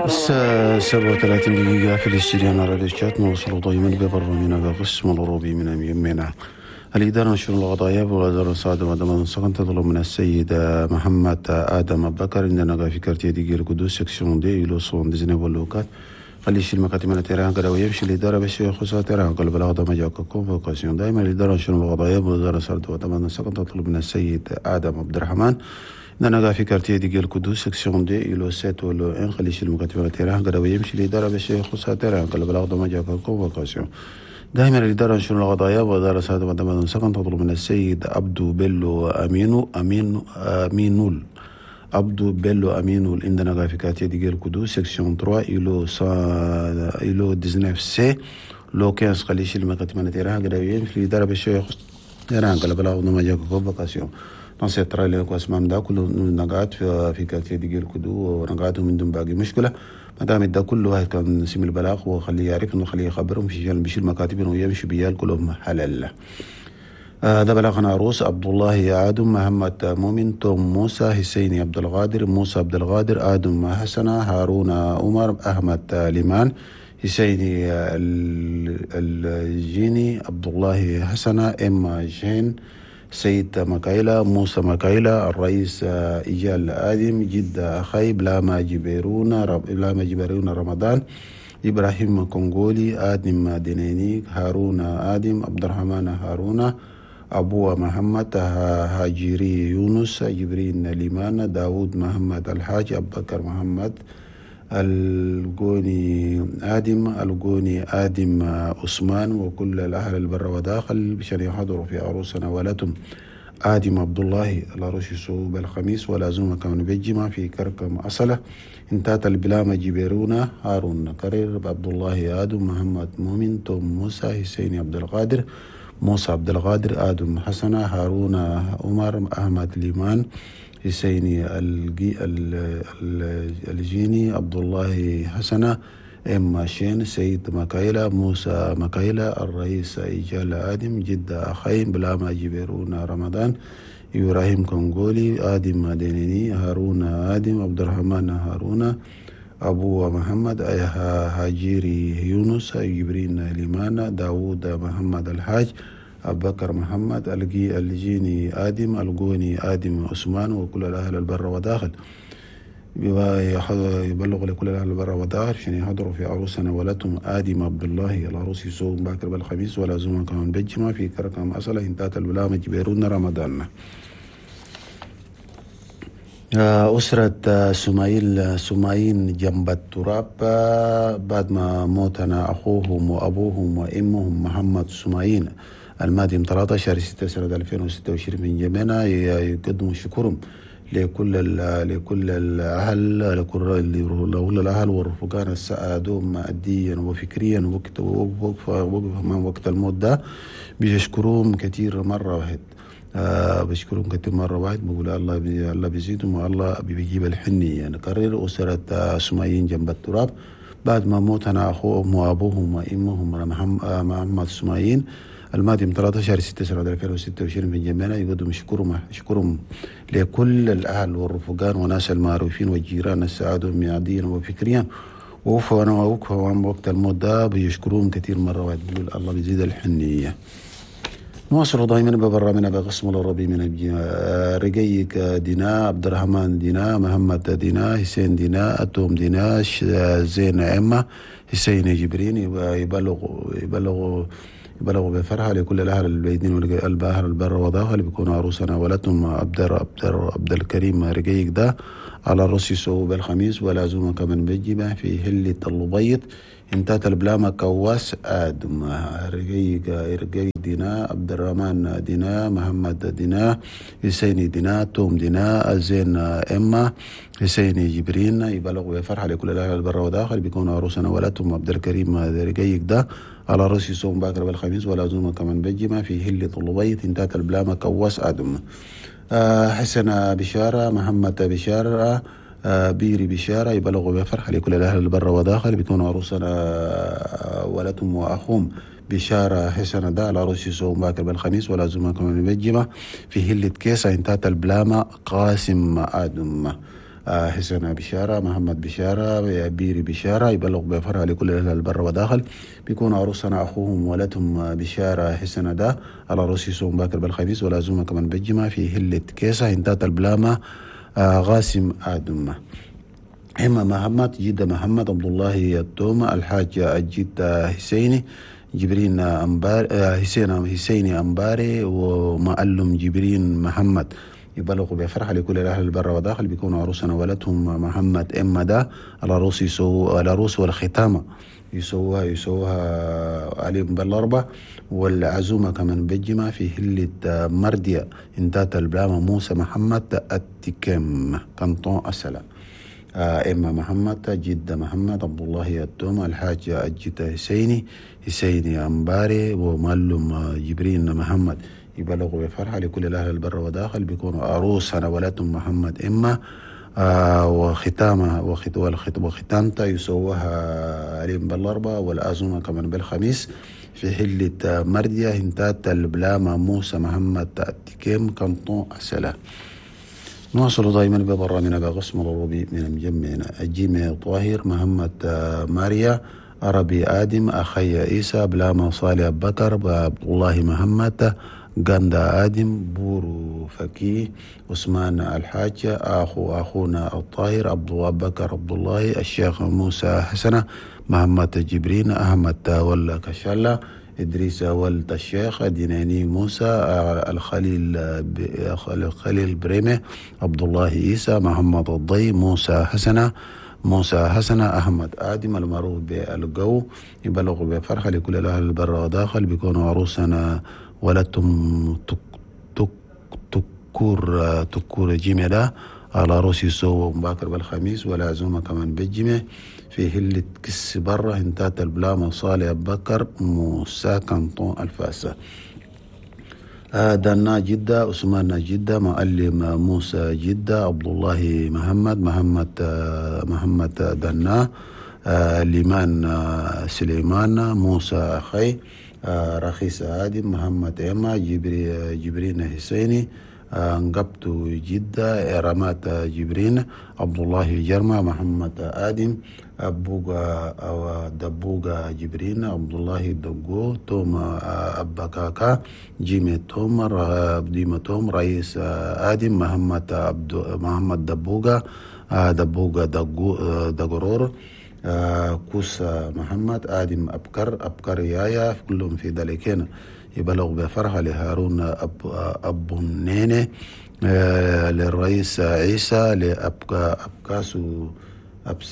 الساعة 37 دقيقة في الاستديو على راديو تشاد. نوصل دائما ببرنامجنا بقسم الأوروبي من يمنا الإدارة نشر القضايا ووزارة الصعد وضمان السكن تطلب من السيد محمد آدم بكر عندنا في quartier ديجير قدوس section deux îlot 79 lot 4 خلي يشيل مكاتب من terrain كده ويمشي الإدارة باش يخصها terrain قال بلاغ ده ما convocation. دائما الإدارة نشر القضايا ووزارة الصعد وضمان السكن تطلب من السيد آدم عبد الرحمن عندنا في quartier ديجير قدوس section deux îlot 7 lot 1 خلي يشيل مكاتب من terrain كده ويمشي الإدارة باش يخصها terrain قال بلاغ ده ما convocation. دائما الإدارة نشر القضايا ووزارة الصعد وضمان السكن تطلب من السيد عبدو بيلو أمينو أمين أمينول عبدو بيلو أمينول عندنا في quartier ديجير قدوس section 3 îlot 19 C lot 15 خلي يشيل مكاتب من terrain كده ويمشي الإدارة باش يخص terrain قال بلاغ ده ما convocation. نصيحة لكم اسمام ده كله نقعد في quartier ديجير كدو ونقعدوا من دون باقي مشكلة. ما دام ده كله واحد كان سمي البلاغ وخليه يعرف انه خليه يخبرهم في بيشيل مكاتب ويمشي بيال كلهم حلال. ده بلاغنا عروس عبد الله آدم محمد مؤمن توم موسى حسين عبد القادر موسى عبد القادر آدم حسنة هارون عمر أحمد ليمان حسين الجيني عبد الله حسنة إما جين سيد مكايلة موسى مكايلة الرئيس إيجال آدم جد أخي بلاما جبرون رمضان إبراهيم كونغولي آدم دينيني هارون آدم عبد الرحمن هارون أبو محمد هاجري يونس جبرين ليمان داود محمد الحاج أبو بكر محمد الجوني آدم الجوني آدم عثمان وكل الأهل البر وداخل بشان يحضروا في عروسنا ولتم آدم عبد الله العروس يسوب الخميس ولازم كمان بالجمع في كركم أصله انتات البلامة جبيرونا هارون كرير عبد الله آدم محمد مؤمن توم موسى حسين عبد القادر موسى عبد القادر آدم حسنة هارون عمر أحمد ليمان حسيني الجيني عبد الله حسنة إما شين سيد مكايلة موسى مكايلة الرئيس إيجال آدم جدة أخين بلاما جبيرون رمضان إبراهيم كونغولي آدم دينيني هارون آدم عبد الرحمن هارون أبو محمد هاجيري يونس جبرين ليمان داود محمد الحاج أبو بكر محمد الجيني آدم الجوني آدم عثمان وكل الأهل البر وداخل يبلغ لكل الأهل البر وداخل عشان يحضروا في عروسنا ولتهم آدم عبد الله العروس يسوق باكر بالخميس ولا زوما كمان بالجمعة في كركم أصله انتهت البلامة جبيرون رمضان. أسرة سمايل سمايين جنب التراب بعد ما موتنا أخوهم وأبوهم وأمهم محمد سمايين المادم 13/6 سنة 2026 من جميعنا يقدموا شكرهم لكل الأهل لكل الأهل والرفقان السعادون ماديا وفكريا وقت وقت الموت ده بيشكروهم كثير مرة واحد. بشكرهم كثير مرة واحد بقول الله بيزيدهم والله بيجيب الحنية. نكرر أسرة سمايين جنب التراب بعد ما موتنا أخوهم وأبوهم وأمهم محمد سمايين المادم 13/6 سنة 2026 من جميعنا يقدم شكرهم لكل الأهل والرفقان وناس المعروفين والجيران السعادون مياديا وفكريا ووقفوا وقت الموت ده بيشكرون كثير مرة واحد بيقول الله بيزيد الحنية. نواصل دائما ببرنامجنا بقسم العربي من رقيق دينا عبد الرحمن دينا محمد دينا حسين دينا أتوم دينا زين أمة حسين جبرين يبلغ بفرحة لكل الأهل البيدين والأهل البر وضاخل بيكونوا عروسنا ولدهم عبد الكريم رقيق ده على الرأس يسوق بالخميس ولازم كمان بالجمع في هلة اللبيض انتهت البلامة كواس آدم رقيق دينا عبد الرحمن دينا محمد دينا حسين دينا توم دينا زين إما حسين جبرين يبلغوا بفرحة لكل الأهل البر وداخل بيكونوا عروسنا ولدهم عبد الكريم رقيق ده على رأس يصوم باكر بالخميس ولازم كمان بالجمع في هلة اللبيض انتهت البلامة كواس آدم. حسن بشارة محمد بشارة بيري بشارة يبلغوا بفرحة لكل الأهل البر وداخل. بيكونوا عروسنا ولدهم وأخوهم بشارة حسنة ده العروس يسوم باكر بالخميس ولا زمان كمان بالجمعة في هلة كيسة انتهت البلامة قاسم آدم. حسن بشارة، محمد بشارة، بيري بشارة يبلغ بفرحة لكل الأهل البر وداخل. بيكون عروسنا أخوهم ولدهم بشارة حسنة ده العروس يسوم باكر بالخميس ولا زمان كمان بالجمعة في هلة كيسة انتهت البلامة غاسم آدم. إما محمد جدة محمد عبد الله التومة الحاج الجد حسيني جبرين أمبار حسيني أمباري ومعلم جبرين محمد يبلغوا بفرحة لكل الأهل البر وداخل. بيكونوا عروسنا ولدهم محمد إما ده العروس يسو العروس والختامة يسوها عليهم بالأربع والعزومة كمان بالجمعة في هلة مردية انتات البلامة موسى محمد التكم كنطون السلام. إما محمد جدة محمد عبد الله التومة الحاج الجدة حسيني أمباري ومعلم جبرين محمد يبلغوا بفرحة لكل الأهل البر وداخل. بيكونوا عروسنا ولدهم محمد إما وختامها وختامتها يسووها عليهم بالأربعة والعزومة كمان بالخميس في حلة مردية هنتات البلامة موسى محمد التكيم كنطون السلام. نواصل دائما ببرامجنا بقسم العربي من مجمعنا الجيمي طاهر محمد ماريا عربي آدم أخي عيسى بلاما صالح أبو بكر عبد الله محمد غندا آدم بورو فكي عثمان الحاج أخونا الطاهر عبد الله بكر عبد الله الشيخ موسى حسنة محمد جبرين أحمد ولا كشالة إدريس ولد الشيخ ديناني موسى الخليل بريمة عبد الله عيسى محمد الضي موسى حسنة أحمد آدم المعروف بالجو يبلغ بفرحة لكل الأهل البر وداخل. بيكونوا عروسنا ولدتم تكور جملة على روسي سو مباكر بالخميس والعزومة كمان بالجمع في هلة كس برة انتات البلامة صالح بكر موسى كنطون الفاسة. دنا جدة عثمان جدة معلم موسى جدة عبد الله محمد دنا ليمان سليمان موسى أخي رخيص آدم محمد إما جبرين حسيني انقبت جدة رمات جبرين عبد الله جرمة محمد آدم أبوغا أو دبوغا جبرين عبد الله دقو توم أباكاكا جيمي توم ديما توم رئيس آدم محمد عبد محمد دبوغا دبوغا دقو دقرور كوس محمد آدم أبكر يايا كلهم في ذلك يبلغ بفرحة لهارون أبو النينة للرئيس عيسى لأبكاسو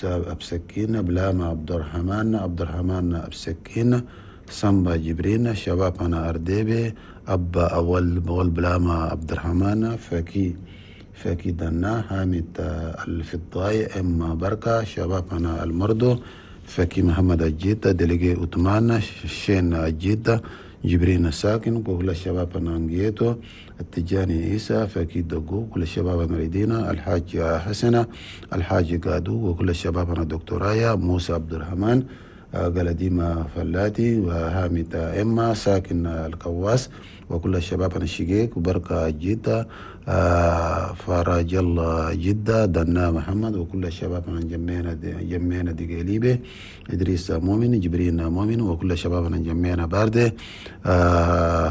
أبسكين بلاما عبد الرحمن أبسكين سامبا جبرين شبابنا أرديبي أبا أول بلاما عبد الرحمن فكي دنا حامد الفضاي إما بركة شبابنا المردو فكي محمد الجيدة دلقي أتمان شين الجيدة جبرين الساكن وكل الشباب نانجيتو التجاني عيسى فكي دقو كل الشباب نريدينا الحاج حسنة الحاج قادو وكل الشباب دكتورايا موسى عبد الرحمن قلديما فلاتي وهامد إما ساكن الكواس وكل الشباب الشقيق وبركة جدة فراج الله جدة دنا محمد وكل الشباب جمينا دقيليبة إدريس مؤمن جبرين مؤمن وكل الشباب جمينا باردة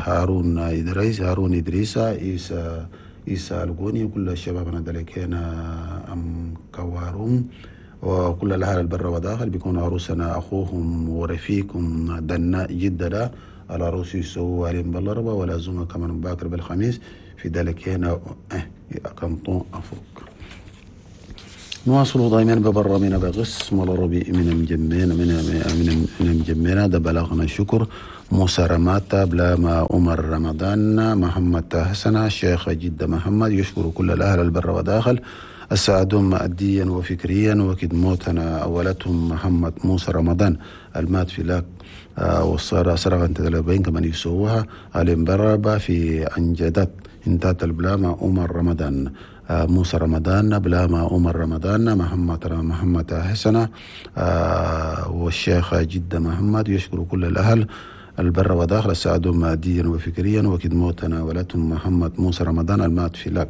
هارون إدريس عيسى القوني وكل الشباب دلكينا أم كواروم وكل الأهل البر وداخل. بيكون عروسنا أخوهم ورفيقهم دنا جدة العروس يسووا عليهم بالأربعة والعزومة كمان باكر بالخميس في ذلك هنا كنطون أفوك. نواصل دائما ببرامنا بقسم العربي من مجمعنا من مجمعنا ده بلغنا شكر موسى رماتا بلاما عمر رمضان محمد حسن الشيخ جدة محمد يشكر كل الأهل البر وداخل السعدون ماديا وفكريا وكد موتنا أولتهم محمد موسى رمضان المات في لاك والصارة سرغا تدلبين كمان يسووها الانبرابة في أنجدت انتات البلامة عمر رمضان، موسى رمضان، بلامة عمر رمضان، محمد حسنة، والشيخ جدة محمد. يشكر كل الأهل البر وداخل ساعدوا ماديا وفكريا وكد موتنا ولدهم محمد موسى رمضان المات في لاك.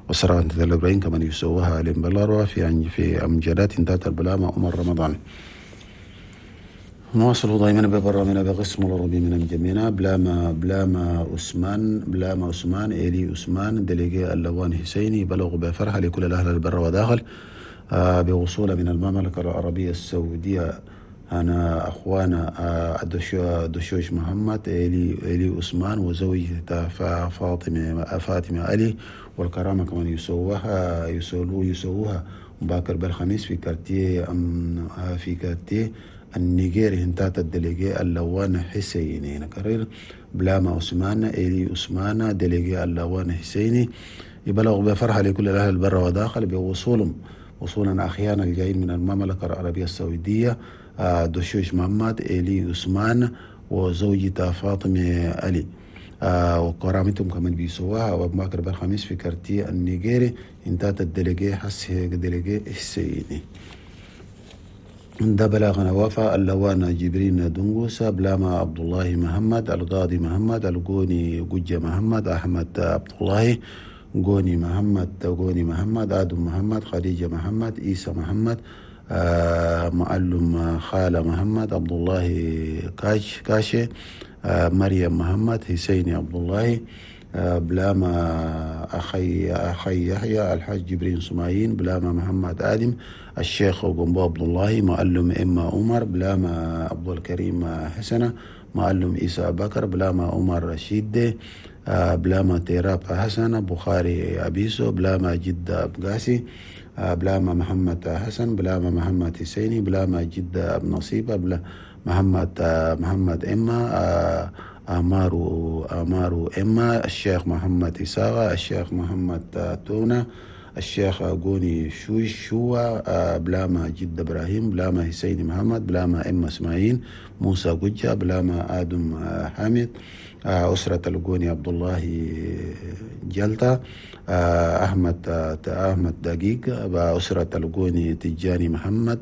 والسرعة الأربعين كمان يسووها عليهم بلاروا في أمجادات انتات البلامة عمر رمضان. نواصل دائما ببرامنا بقسم العربي من الجميع. بلاما عثمان إلي عثمان دليجي اللوان حسيني بلغ بفرحة لكل الأهل البر وداخل بوصول من المملكة العربية السعودية. أنا أخوانا دشوش محمد إلي عثمان وزوجته فاطمة علي، والكرامة كمان يسووها مباكر بالخميس في كارتيه النيجيري هنتات الدليجي اللوان حسيني. نكرر بلاما عثمان إلي عثمان دليجي اللوان حسيني يبلغ بفرحة لكل الأهل البر وداخل بوصولهم وصولا أخيانا الجايين من المملكة العربية السعودية دشوش محمد إلي عثمان وزوجته فاطمة علي، وكرامتهم كمان بيسووها وبماكر بالخميس في كارتيه النيجيري انتات الدليجي دليجي حسيني. ده بلاغنا وفا اللوانا جبرين دنغوسا بلاما عبد الله محمد القاضي محمد القوني جوجة محمد أحمد عبد الله قوني محمد قوني محمد آدم محمد خديجة محمد عيسى محمد معلم خالة محمد عبد الله كاشي مريم محمد حسيني عبد الله بلاما أخي يحيى الحاج جبرين سمايين بلاما محمد آدم الشيخ قنبو عبد الله معلم إما عمر بلاما عبد الكريم حسنة معلم عيسى بكر بلاما عمر رشيد بلاما تيراب حسن بخاري أبيسو بلاما جدة أبقاسي بلاما محمد حسن بلاما محمد حسيني بلاما جدة أب نصيبة بلا محمد إما أمارو إما الشيخ محمد إساغة الشيخ محمد تونا الشيخ قوني شوا بلاما جد إبراهيم بلاما حسين محمد بلاما إما إسماعيل موسى قجة بلاما آدم حامد أسرة القوني عبد الله جلطة أحمد دقيق أسرة القوني تجاني محمد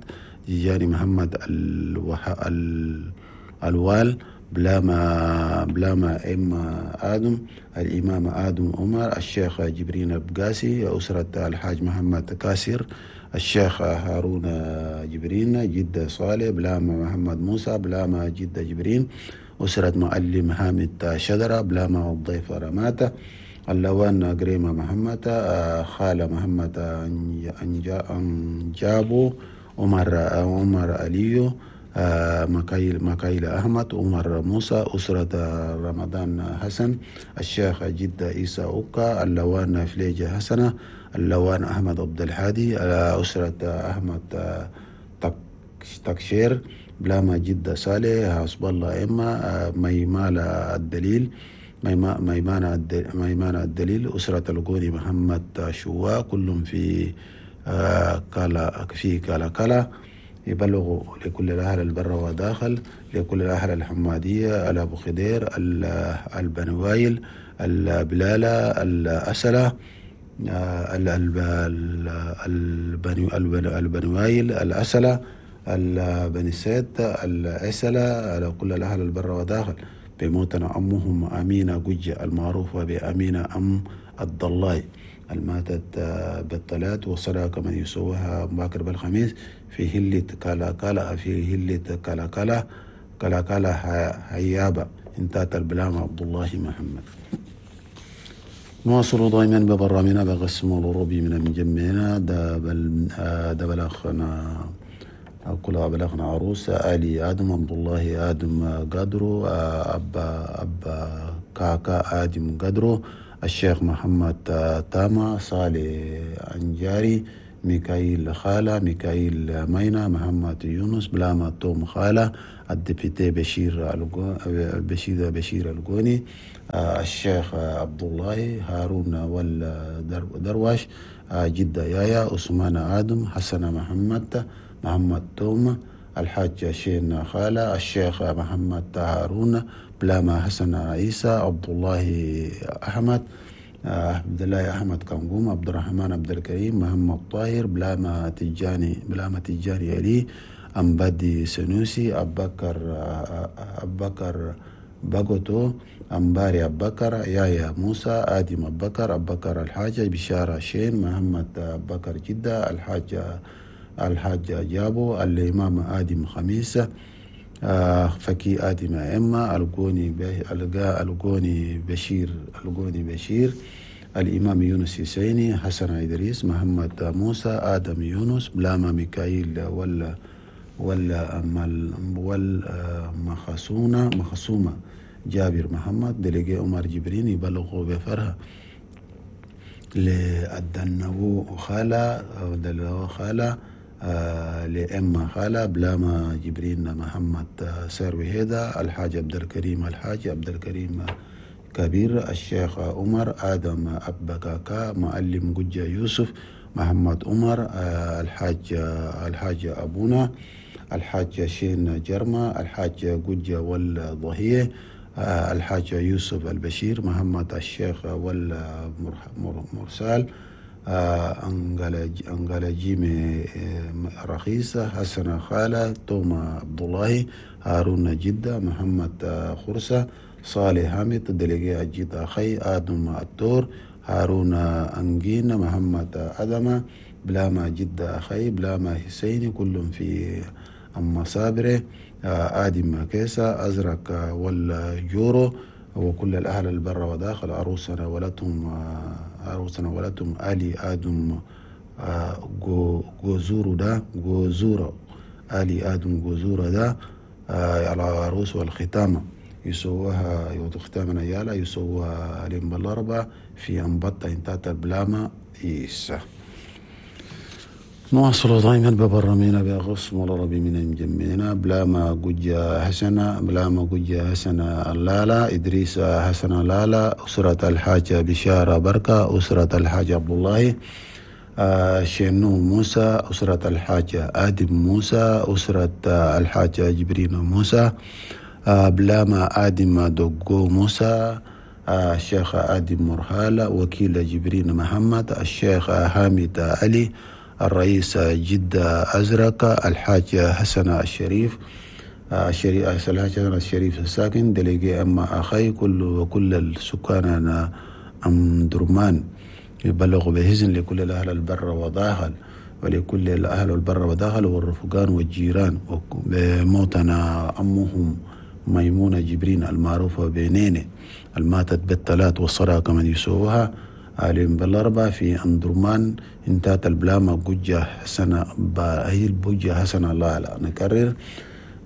الوال بلاما إما آدم الإمام آدم عمر الشيخ جبرين البقاسي أسرة الحاج محمد كاسر الشيخ هارون جبرين جدة صالح بلاما محمد موسى بلاما جدة جبرين أسرة معلم حامد شدرة بلاما الضيف رماتة اللوان قريمة محمد خالة محمد أنجابو عمر عليو مكايل أحمد عمر موسى أسرة رمضان حسن الشيخ جدة عيسى أوكا اللوان فليجة حسنة اللوان أحمد عبد الحادي أسرة أحمد تكشير بلاما جدة صالح حسب الله إما ميمالة الدليل ميمانة الدليل أسرة القوني محمد شوا كلهم في كالا كالا يبلغوا لكل الأهل البر وداخل لكل الأهل الحمادية الأبو خدير البنوايل البلالة الأسلة البنوايل الأسلة البني سيد الأسلة على كل الأهل البر وداخل بموتنا أمهم أمينة جوجة المعروفة بأمينة أم الضلاي الماتت بالثلاث وصدق من يسوها باكر بالخميس في هلة كالا كالا في هلة كالا كالا كالا كالا هيابة انتات البلام عبد الله محمد. نواصل دائما ببرامنا بقسم الأوروبي من مجمعنا ده بلغنا كل بلغنا عروس آلي آدم عبد الله آدم قدرو أبا كاكا آدم قدرو الشيخ محمد تاما صالح أنجاري ميكائيل خالة ميكائيل مينا محمد يونس بلاما توم خالة الدبيتي بشير القوني الشيخ عبد الله هارون والدرواش جدة يايا عثمان آدم حسن محمد توم الحاج شين خالة الشيخ محمد هارون بلاما حسن عيسى عبد الله أحمد عبد الله أحمد كنقوم، عبد الرحمن عبد الكريم، محمد طاهر، بلاما تجاني علي، أمبادي سنوسي، أبكر باغوتو، أمباري أبكر، يايا موسى، آدم أبكر، أبكر الحاجة، بشارة شين، محمد أبكر جدة، الحاج جابو، الإمام آدم خميس، فكي آدم أئمة، القوني بشير، الإمام يونس حسيني، حسن إدريس، محمد موسى، آدم يونس، بلاما ميكائيل ولا مخصومة، جابر محمد، دلقي عمر جبرين، يبلغوا بفرها لأدنو خالة لأم خالة، بلاما جبرين محمد سروي هيدا، الحاج عبد الكريم، الحاج عبد الكريم كبير، الشيخ عمر، آدم أبكاكا، معلم جوجا يوسف، محمد عمر، الحاج أبونا، الحاج شين جرما، الحاج جوجا والضهية، الحاج يوسف البشير، محمد الشيخ والمرسال، أنجلا جيمي رخيصة، حسن خالة، توما عبد الله، هارون جدة، محمد خرسة، صالح حامد، دلقي أجيد أخي، آدم التور، هارون أنجين، محمد أدمة، بلاما جدة أخي، بلاما حسيني، كلهم في أما صابرة، آدم كيسة، أزرق والجورو، وكل الأهل البر وداخل، عروسنا ولدهم آلي آدم جوزورو دا جوزورو، آلي آدم جوزورو دا على عروس والختامة يسووها يوت ختامنا يالا يسووها اليوم بالأربعة في أنبطة انتات البلامة إيسا. نواصل دائما ببرامينا بأغص ربي من مجمعنا، بلاما جوجا حسنة، بلاما جوجا حسنة لالا، إدريس حسنة لالا، أسرة الحاجة بشارة بركة، أسرة الحاج عبد الله، شنو موسى، أسرة الحاجة آدم موسى، أسرة الحاجة جبرين موسى، بلاما آدم دوغو موسى، الشيخ آدم مرحالة، وكيل جبرين محمد، الشيخ حامد علي، الرئيس جدة أزرق، الحاج حسن الشريف، الحاج حسن الشريف الساكن، دليقي أما أخي، وكل السكان أم درمان، يبلغ بهزن لكل الأهل البر وداخل، ولكل الأهل البر وداخل والرفقان والجيران، بموتنا أمهم ميمونة جبرين المعروفة بنينة الماتت بالثلاث والصراكة من يسوها اليوم بالأربعة في أندرمان انتهت البلامة جوجة حسنة هي البوجة حسنة لالا. نكرر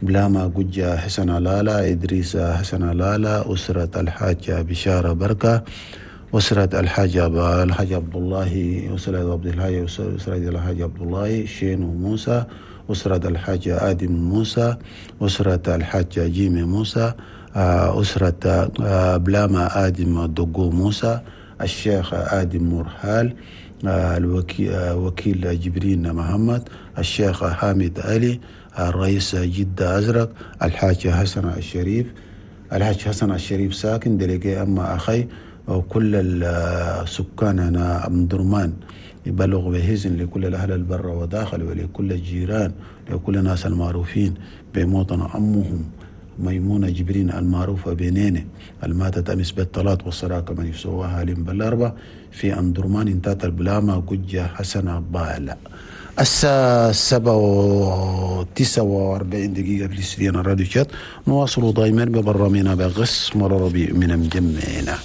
بلامة جوجة حسنة لالا، إدريس حسنة لالا، أسرة الحاجة بشارة بركة، أسرة الحاج عبد الله، أسرة عبد الحاج، أسرة الحاج عبد الله، شين موسى، أسرة الحاج آدم موسى، أسرة الحاج جيمي موسى، أسرة بلامة آدم دقو موسى، الشيخ آدم مرحال، الوكيل جبرين محمد، الشيخ حامد علي، الرئيس جدة أزرق، الحاج حسن الشريف، الحاج حسن الشريف ساكن دلقي أما أخي، وكل السكان هنا أم درمان يبلغ بهزن لكل الأهل البر وداخل ولكل الجيران لكل الناس المعروفين بموطن أمهم ميمونة جبرين المعروفة بنينة الماتت أمس بالطلاق والصراكة من يسواها لم بالأربع في أندرمان انتات البلامة قجة حسن بالا. الساعة 7:49 في الاستديو الراديو شات. نواصل دائما ببرامجنا بغص مرة ربيع من مجمعنا.